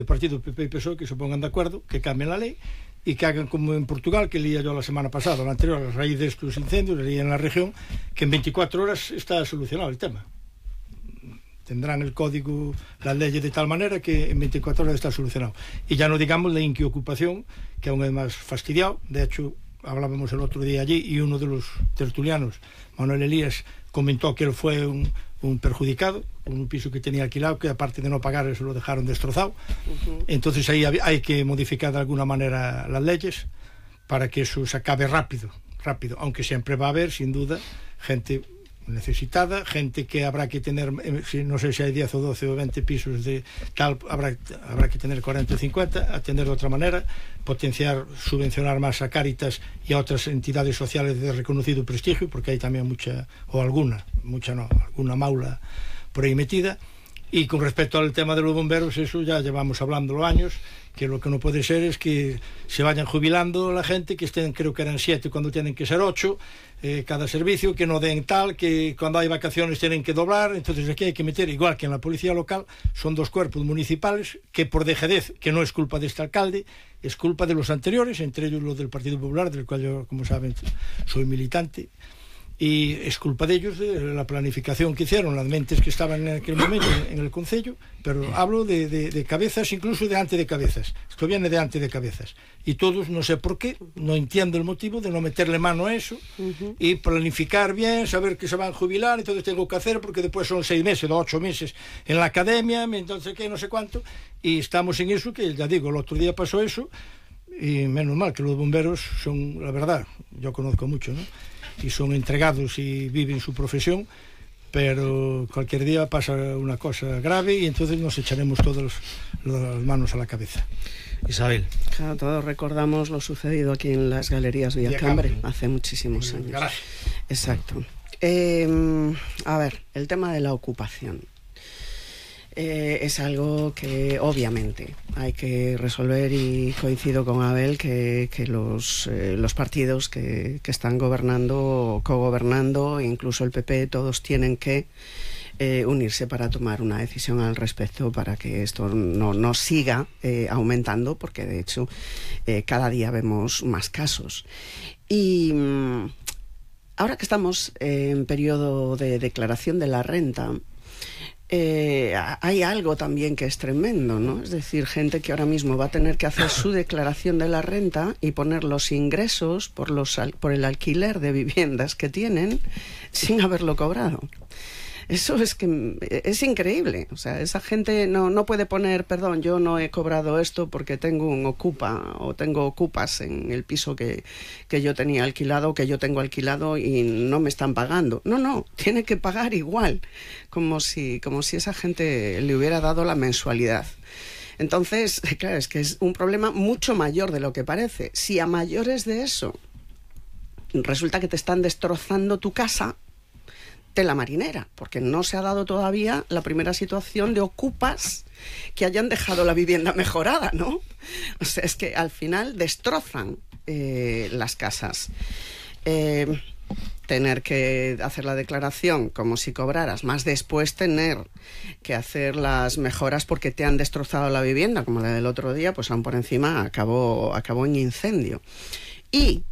el partido PP y PSOE que se pongan de acuerdo, que cambien la ley y que hagan como en Portugal, que leía yo la semana pasada, la anterior, a raíz de estos incendios, leía en la región, que en 24 horas está solucionado el tema. Tendrán el código, las leyes de tal manera que en 24 horas está solucionado. Y ya no digamos la inquiocupación, que aún es más fastidiado. De hecho, hablábamos el otro día allí y uno de los tertulianos, Manuel Elías, comentó que él fue un perjudicado con un piso que tenía alquilado, que aparte de no pagar se lo dejaron destrozado. Entonces ahí hay que modificar de alguna manera las leyes para que eso se acabe rápido, aunque siempre va a haber, sin duda, gente necesitada, gente que habrá que tener, no sé si hay 10 o 12 o 20 pisos de tal, habrá que tener 40 o 50, atender de otra manera, potenciar, subvencionar más a Cáritas y a otras entidades sociales de reconocido prestigio, porque hay también mucha alguna maula por ahí metida. Y con respecto al tema de los bomberos, eso ya llevamos hablándolo años, que lo que no puede ser es que se vayan jubilando la gente, que estén, creo que eran 7 cuando tienen que ser 8, cada servicio, que no den tal, que cuando hay vacaciones tienen que doblar. Entonces aquí hay que meter, igual que en la policía local, son 2 cuerpos municipales que por dejadez, que no es culpa de este alcalde, es culpa de los anteriores, entre ellos los del Partido Popular, del cual yo, como saben, soy militante. Y es culpa de ellos, de la planificación que hicieron, las mentes que estaban en aquel momento en el concello, pero hablo de cabezas, incluso de ante de cabezas. Esto viene de ante de cabezas. Y todos, no sé por qué, no entiendo el motivo de no meterle mano a eso y planificar bien, saber que se van a jubilar, entonces tengo que hacer, porque después son 6 meses o 8 meses en la academia, entonces qué, no sé cuánto, y estamos en eso, que ya digo, el otro día pasó eso, y menos mal que los bomberos son, la verdad, yo conozco mucho, ¿no?, y son entregados y viven su profesión, pero cualquier día pasa una cosa grave y entonces nos echaremos todas las manos a la cabeza. Isabel. Claro, todos recordamos lo sucedido aquí en las Galerías Villacambre hace muchísimos años. Garaje. Exacto. A ver, el tema de la ocupación. Es algo que obviamente hay que resolver, y coincido con Abel que los partidos que están gobernando o cogobernando, incluso el PP, todos tienen que unirse para tomar una decisión al respecto, para que esto no siga aumentando, porque de hecho cada día vemos más casos. Y ahora que estamos en periodo de declaración de la renta, hay algo también que es tremendo, ¿no? Es decir, gente que ahora mismo va a tener que hacer su declaración de la renta y poner los ingresos por el alquiler de viviendas que tienen sin haberlo cobrado. Eso es que es increíble. O sea, esa gente no puede poner, perdón, yo no he cobrado esto porque tengo un ocupa o tengo ocupas en el piso que yo tenía alquilado, que yo tengo alquilado y no me están pagando. No, tiene que pagar igual, como si esa gente le hubiera dado la mensualidad. Entonces, claro, es que es un problema mucho mayor de lo que parece. Si a mayores de eso resulta que te están destrozando tu casa, tela marinera, porque no se ha dado todavía la primera situación de ocupas que hayan dejado la vivienda mejorada, ¿no? O sea, es que al final destrozan las casas. Tener que hacer la declaración como si cobraras, más después tener que hacer las mejoras porque te han destrozado la vivienda, como la del otro día, pues aún por encima acabó en incendio. Y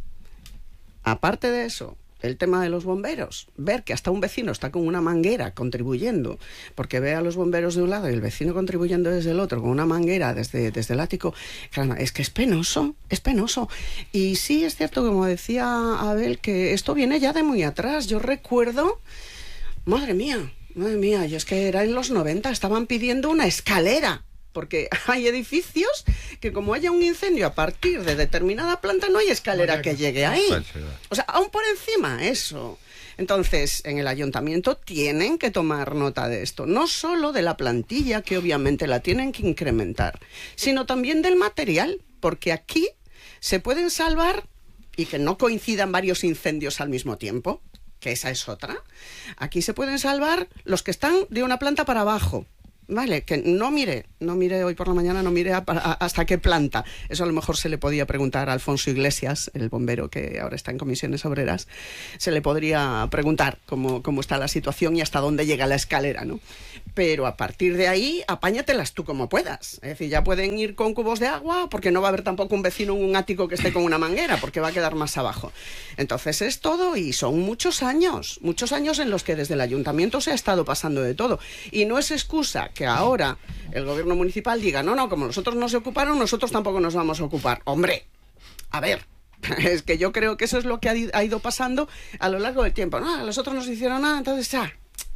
aparte de eso, el tema de los bomberos, ver que hasta un vecino está con una manguera contribuyendo, porque ve a los bomberos de un lado y el vecino contribuyendo desde el otro con una manguera desde el ático, claro, es que es penoso. Y sí es cierto, como decía Abel, que esto viene ya de muy atrás. Yo recuerdo, madre mía, y es que era en los 90, estaban pidiendo una escalera, porque hay edificios que como haya un incendio a partir de determinada planta no hay escalera que llegue ahí. O sea, aún por encima eso. Entonces, en el ayuntamiento tienen que tomar nota de esto, no solo de la plantilla, que obviamente la tienen que incrementar, sino también del material, porque aquí se pueden salvar, y que no coincidan varios incendios al mismo tiempo, que esa es otra. Aquí se pueden salvar los que están de una planta para abajo, Vale, que no mire hoy por la mañana, no mire hasta qué planta. Eso a lo mejor se le podía preguntar a Alfonso Iglesias, el bombero que ahora está en Comisiones Obreras, se le podría preguntar cómo está la situación y hasta dónde llega la escalera, ¿no? Pero a partir de ahí, apáñatelas tú como puedas. Es decir, ya pueden ir con cubos de agua, porque no va a haber tampoco un vecino en un ático que esté con una manguera, porque va a quedar más abajo. Entonces es todo, y son muchos años en los que desde el ayuntamiento se ha estado pasando de todo. Y no es excusa que ahora el gobierno municipal diga, no, como nosotros no se ocuparon, nosotros tampoco nos vamos a ocupar. Hombre, a ver, es que yo creo que eso es lo que ha ido pasando a lo largo del tiempo. No, los otros no se hicieron nada, entonces ya,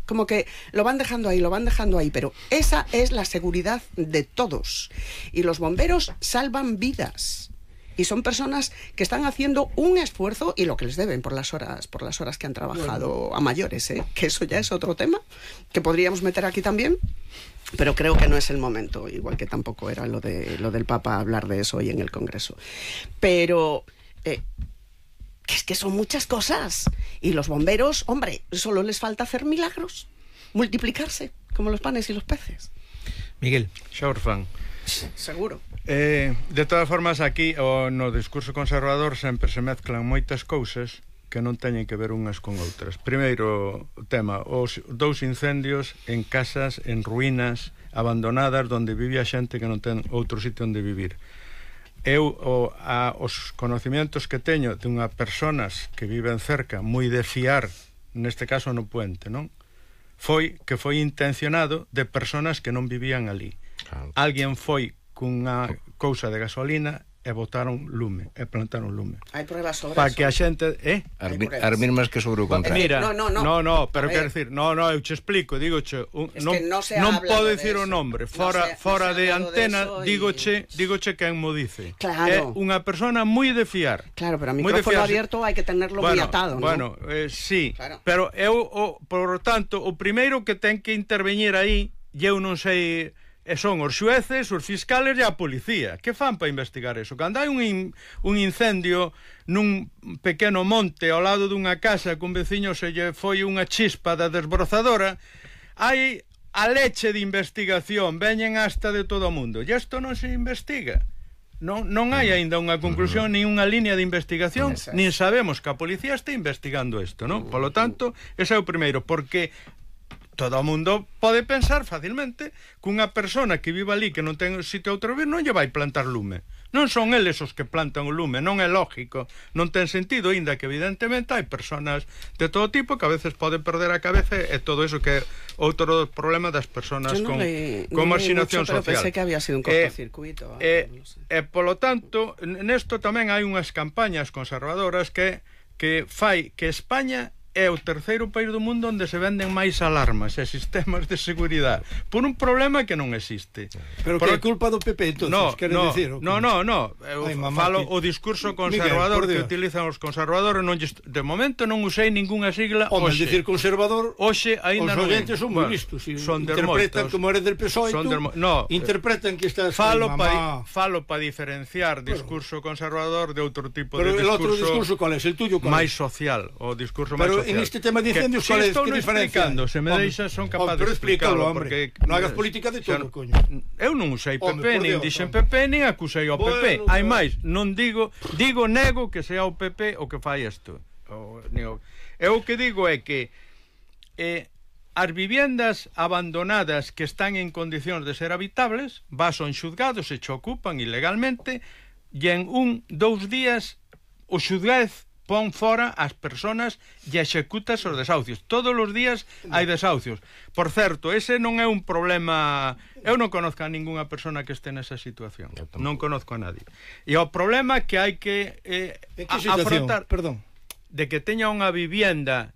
como que lo van dejando ahí, pero esa es la seguridad de todos. Y los bomberos salvan vidas. Y son personas que están haciendo un esfuerzo y lo que les deben por las horas que han trabajado a mayores, ¿eh? Que eso ya es otro tema que podríamos meter aquí también, pero creo que no es el momento, igual que tampoco era lo del Papa hablar de eso hoy en el Congreso. Pero que es que son muchas cosas, y los bomberos, hombre, solo les falta hacer milagros, multiplicarse como los panes y los peces. Miguel. Xaurfan. Seguro. De todas formas, aquí no discurso conservador sempre se mezclan moitas cousas que non teñen que ver unhas con outras. Primeiro tema, os 2 incendios en casas, en ruínas, abandonadas, onde vivía xente que non ten outro sitio onde vivir. Eu, os conocimientos que teño de unha personas que viven cerca, moi de fiar, neste caso no Puente, non? Foi intencionado de personas que non vivían ali. Claro. Alguén foi cunha cousa de gasolina e botaron lume, e plantaron lume. Hai pruebas sobre para eso. que a xente, As mismas que sobre o contrario. Mira, no, pero quero decir, eu che explico, dígoche, non podo dicir o nombre, fora de antena, dígoche quen mo dice. Claro. É unha persona moi de fiar. Claro, pero a micrófono abierto hai que tenerlo moi atado, ¿no? Bueno, sí, claro. Pero por tanto, o primeiro que ten que intervenir aí, eu non sei, son os xueces, os fiscales e a policía. Que fan para investigar eso? Cando hai un incendio nun pequeno monte ao lado dunha casa que un veciño se lle foi unha chispa da desbrozadora, hai a leche de investigación, veñen hasta de todo o mundo. E isto non se investiga. Non hai aínda unha conclusión, nin unha línea de investigación, nin sabemos que a policía está investigando isto, non? Polo tanto, ese é o primeiro, porque todo o mundo pode pensar facilmente que unha persona que vive ali que non ten sitio a outro vir non lle vai plantar lume. Non son eles os que plantan o lume, non é lógico, non ten sentido, inda que evidentemente hai personas de todo tipo que a veces poden perder a cabeza, e todo eso que é outro problema das personas con marxinación social. Pero pensé que había sido un cortocircuito. Polo tanto, nesto tamén hai unhas campañas conservadoras que fai que España é o terceiro país do mundo onde se venden máis alarmas e sistemas de seguridade por un problema que non existe. Pero que é culpa do PP, entonces, queres dicir? No. Eu falo o discurso conservador que utilizan os conservadores. De momento non usei ningunha sigla. Home, dicir conservador, hoxe aínda non. Os oyentes son moi listos. Son interpretan como eres del PSOE, interpretan que estás... Falo para diferenciar discurso conservador de outro tipo de discurso. Pero el outro discurso, ¿cuál es? El tuyo, ¿cuál es? Máis social, o discurso máis social. En este tema de incendios, ¿cuál es? ¿Qué diferencia? Se me deixas, son capaz de explicarlo, hombre. Non hagas política de todo, coño. Eu non usei PP, nin dixen PP, nin acusei ao PP. Hai máis, non digo, nego que sea o PP o que fai isto. Eu o que digo é que as viviendas abandonadas que están en condicións de ser habitables, son xuzgados e che ocupan ilegalmente, e en 2 días o xuzgaz pon fora as persoas e executas os desahucios. Todos os días hai desahucios. Por certo, ese non é un problema... Eu non conozco a ningunha persona que este nesa situación. Non conozco a nadie. E o problema que hai que afrontar... Perdón. De que teña unha vivienda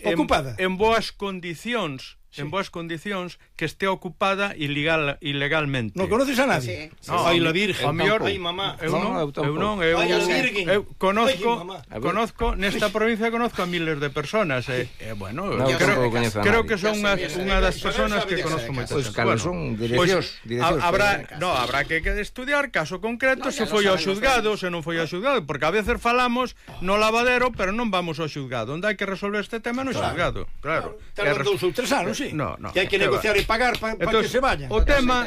ocupada en boas condicións, que este ocupada ilegalmente. Non conoces a nadie? Ai, la Virgen. Ai, mamá. Eu non. Eu conozco, nesta provincia conozco a miles de personas. Bueno, creo que son unha das personas que conozco moitas. Pois cales son direccións. Habrá que estudiar caso concreto, se foi ao xuzgado, se non foi ao xuzgado, porque a veces falamos no lavadero, pero non vamos ao xuzgado. Onde hai que resolver este tema no xuzgado. Claro. Tardan 2 ou 3 anos. sí. No, que hai que negociar e pagar para que se vayan. O tema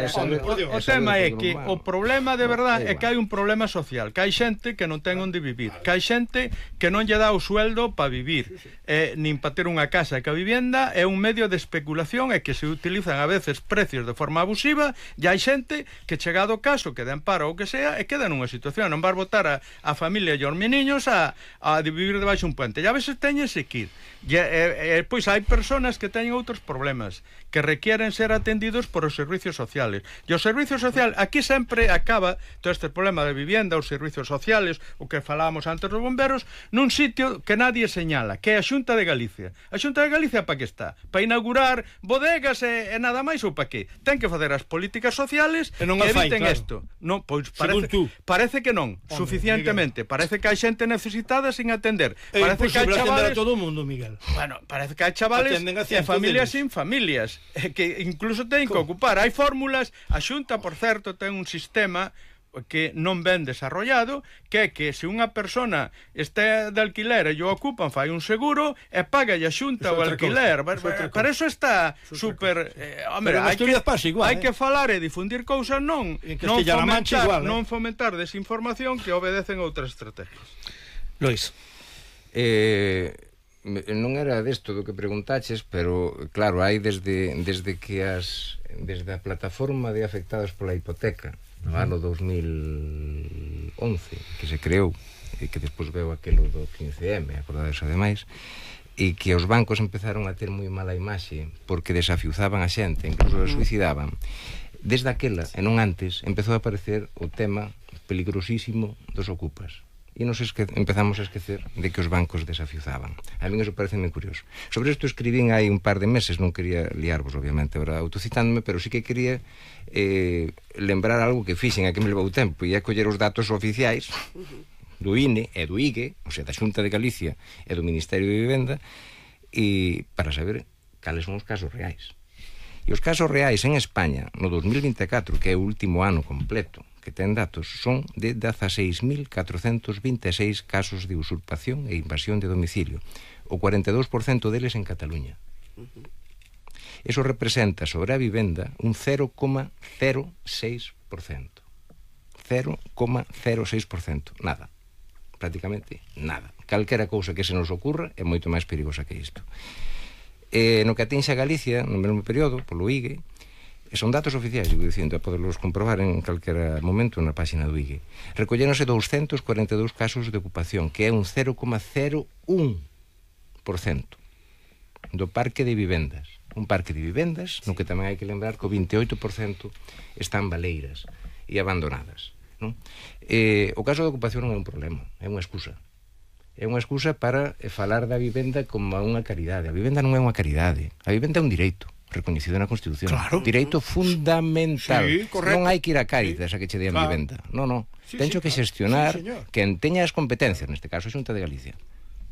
é que o problema de verdade é que hai un problema social, que hai xente que non ten onde vivir, que hai xente que non lle dá o sueldo para vivir, nin para ter unha casa, que a vivenda é un medio de especulación e que se utilizan a veces precios de forma abusiva, e hai xente que chegado o caso, que den paro ou que sea, e queda nunha situación, non vas botar a familia e os meniños a vivir debaixo un puente, e a veces teñense que ir. Pois hai personas que teñen outros problemas que requieren ser atendidos por os servicios sociales, e os servicios sociales aquí sempre acaba todo este problema de vivienda, os servicios sociales, o que falábamos antes dos bomberos, nun sitio que nadie señala, que é a Xunta de Galicia. A Xunta de Galicia para que está? Para inaugurar bodegas e nada máis, ou para que? Ten que facer as políticas sociales que eviten isto. Non, pois parece que non, suficientemente. Parece que hai xente necesitada sin atender. Parece que hai chavales a todo o mundo, Miguel. Bueno, parece que hai chavales e familias sin familias que incluso teñen que ocupar. Hai fórmulas, a Xunta, por certo, ten un sistema que non ben desarrollado, que é que se unha persona está de alquiler e o ocupan, fai un seguro e paga a Xunta o alquiler. Para eso está super... Hombre, hai que falar e difundir cousas, non fomentar desinformación que obedecen outras estrategias. Lois, non era desto do que preguntaches, pero claro, hai desde a plataforma de afectados pola hipoteca no ano 2011 que se creou e que despois veu aquelo do 15M, acordades ademais, e que os bancos empezaron a ter moi mala imaxe porque desafiuzaban a xente, incluso a suicidaban. Desde aquela, e non antes, empezou a aparecer o tema peligrosísimo dos ocupas. E nos empezamos a esquecer de que os bancos desafiuzaban. A mí eso parece moi curioso. Sobre isto escribín hai un par de meses, non quería liarvos, obviamente, autocitándome, pero sí que quería lembrar algo que fixen, a que me levou tempo, e é coller os datos oficiais do INE e do IGE, ou sea, da Xunta de Galicia e do Ministerio de Vivenda, e para saber cales son os casos reais. E os casos reais en España, no 2024, que é o último ano completo que ten datos, son de 16.426 casos de usurpación e invasión de domicilio, o 42% deles en Cataluña. Eso representa sobre a vivenda un 0,06%. 0,06%. Nada. Prácticamente nada. Calquera cousa que se nos ocurra é moito máis perigosa que isto. No que atinxe a Galicia, no mesmo período, polo IGE, son datos oficiais, digo dicindo, a poderlos comprobar en calquera momento na página do IGE. Recolléronse 242 casos de ocupación, que é un 0,01% do parque de vivendas. Un parque de vivendas no que tamén hai que lembrar que o 28% están baleiras e abandonadas, non? O caso da ocupación non é un problema, é unha excusa. É unha excusa para falar da vivenda como unha caridade. A vivenda non é unha caridade, a vivenda é un direito reconhecido na Constitución. Claro. Direito fundamental. Sí, correcto. Non hai que ir a Cáritas a que che den vivenda. Non. Tencho que xestionar quen teña as competencias, neste caso a Xunta de Galicia.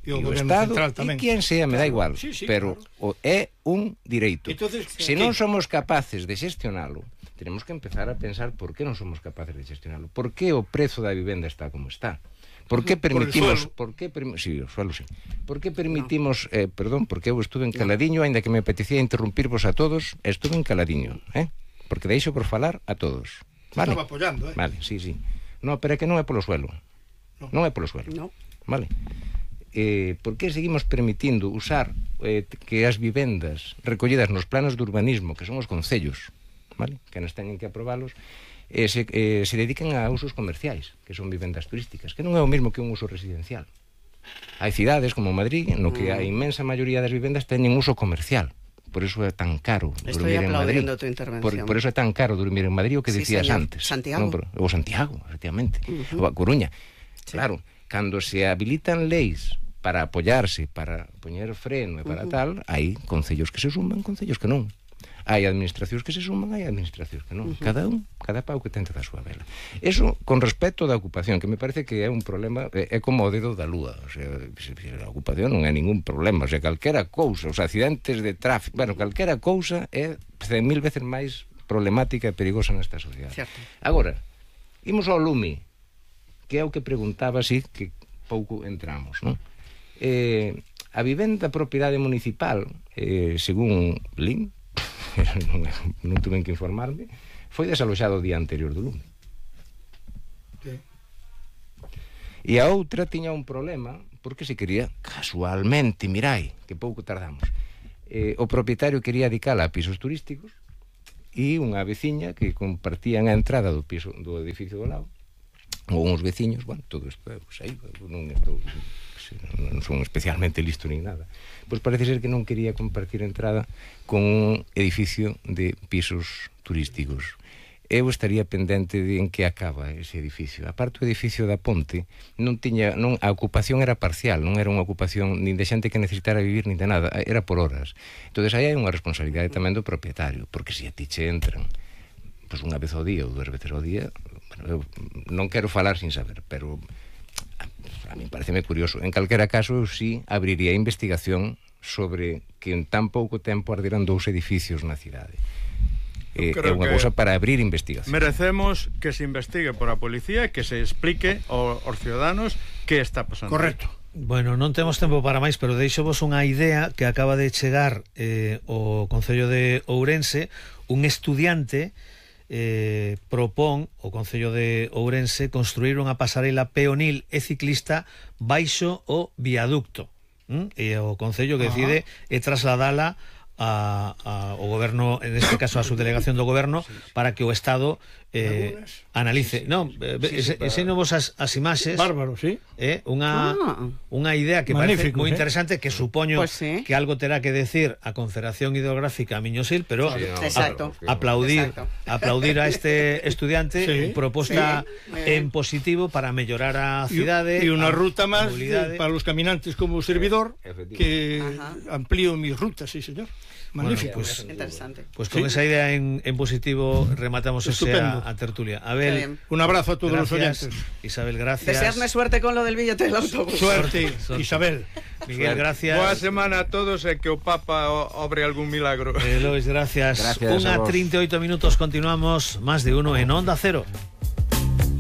E o Estado, e quen sea, me dá igual, pero é un direito. Se non somos capaces de xestionalo, tenemos que empezar a pensar por que non somos capaces de xestionalo. Por que o prezo da vivenda está como está? Por que permitimos... Sí, o suelo, sí. Por que permitimos... Perdón, porque eu estuve en Caladiño, ainda que me apetecía interrumpirvos a todos, estuve en Caladiño, porque deixo por falar a todos. Vale? Estaba apoyando, Vale, sí. No, pero é que non é polo suelo. Non é polo suelo. Vale? Por que seguimos permitindo usar que as vivendas recollidas nos planos de urbanismo, que son os concellos, vale? Que nos teñen que aprobalos, se dediquen a usos comerciais, que son vivendas turísticas, que non é o mesmo que un uso residencial. Hai cidades como Madrid no que a inmensa maioría das vivendas teñen uso comercial. Por eso é tan caro dormir en Madrid. Por eso é tan caro dormir en Madrid, o que decías antes. Santiago. Ou Santiago, efectivamente. Ou a Coruña. Claro, cando se habilitan leis para apoyarse, para poñer freno e para tal, hai concellos que se suman, concellos que non. Hai administracións que se suman, hai administracións que non. Cada pau que tenta da súa vela. Eso con respecto da ocupación, que me parece que é un problema, é como o dedo da lúa. O sea, a ocupación non é ningún problema. O sea, calquera cousa, os accidentes de tráfico, bueno, calquera cousa é 100.000 veces máis problemática e perigosa nesta sociedade. Agora, imos ao lume, que é o que preguntaba, así, que pouco entramos, non? A vivenda propiedade municipal, según Lin, non tuve que informarme, foi desaloxado o día anterior do lume. E a outra tiña un problema, porque se quería, casualmente, mirai, que pouco tardamos, o propietario quería dedicala a pisos turísticos e unha veciña que compartían a entrada do piso do edificio do lado, ou uns veciños, bueno, todo isto, pues aí, non son especialmente listo nin nada, pois parece ser que non quería compartir entrada con un edificio de pisos turísticos. Eu estaría pendente de en que acaba ese edificio. A parte do edificio da Ponte a ocupación era parcial, non era unha ocupación nin de xente que necesitara vivir nin de nada, era por horas. Entón aí hai unha responsabilidade tamén do propietario, porque se a ti che entran pois unha vez ao día ou 2 veces ao día, bueno, eu non quero falar sin saber, pero a mí pareceme curioso. En calquera caso, eu sí abriría investigación sobre que en tan pouco tempo arderan 2 edificios na cidade. É unha cousa para abrir investigación. Merecemos que se investigue por a policía e que se explique aos ciudadanos que está pasando. Correcto. Bueno, non temos tempo para máis, pero deixo-vos unha idea que acaba de chegar o Concello de Ourense. Un estudiante propón o Concello de Ourense construir unha pasarela peonil e ciclista baixo o viaducto, e o Concello que decide trasladala ao goberno, en este caso a subdelegación do goberno, para que o Estado analice. Non, enseñovos as imaxes. Bárbaro, sí. Unha idea que parece moi interesante, que supoño que algo terá que decir a Confederación Hidrográfica Miño-Sil, pero aplaudir a este estudiante, proposta en positivo para mellorar a cidade. E unha ruta máis para os caminantes como o servidor, que amplío mis rutas, sí, señor. Magnífico. Bueno, pues, interesante. Pues con esa idea en positivo rematamos a tertulia. Abel, un abrazo a todos los oyentes. Isabel, gracias. Deseadme suerte con lo del billete del autobús. Suerte, Isabel. Miguel, gracias. Boa semana a todos e que o Papa obre algún milagro. Lois, gracias. 1:38 minutos, continuamos, más de uno en Onda Cero.